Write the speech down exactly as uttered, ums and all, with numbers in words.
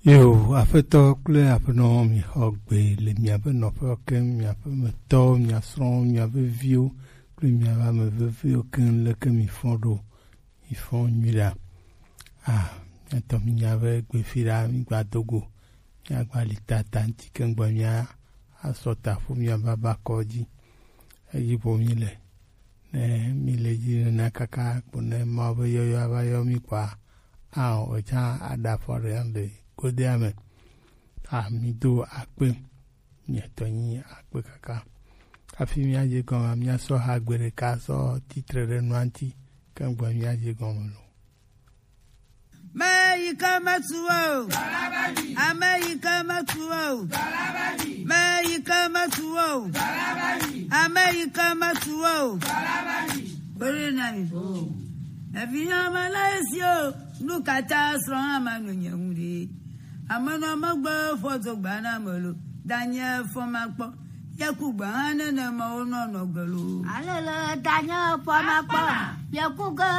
Yo, Aƒetɔ kple Aƒenɔ, mixɔ gbe le miaƒe nɔƒewo keŋ, miaƒe metɔwo, mia srɔ̃wo, miaƒe viwo kple miaƒe ame veviwo keŋ, leke mifɔ ɖo, mifɔ nyui ɖa. Ah, miatɔ minya be gbefi ɖa, migba do go, miagba li tata ŋuti keŋ gbɔ, mia asɔ ta ƒu, mia baba kɔ dzi. Eyi ƒo mi le. Ne mi le dzi nena kaka kpo ne Mawu be yɔyɔ ava yɔ mi kɔa, ao, etsã aɖa afɔ ɖe le godea me. A, mi do akpe, mietɔ nyi akpe kaka. Hafi mia dze gɔme, mia sɔ ha gbe ɖeka sɔ titre ɖe nua ŋuti, ke gbɔ mia dze gɔme lo. Ame yi ke metu o. Ame yi ke metu o. Ame yi ke metu o. Ame yi ke metu o. Kpere na mi. Evinya ma la esi o. Nu ka ta srɔ̃ ama no nye ŋu ɖe. Ame nɔ megbe fɔ do gba na me lo. Danye fɔ ma kpɔ. Ye ku gbe hã nenema wo nɔ nɔ gbe lo. Alele danye fɔ ma kpɔ. Ye ku ge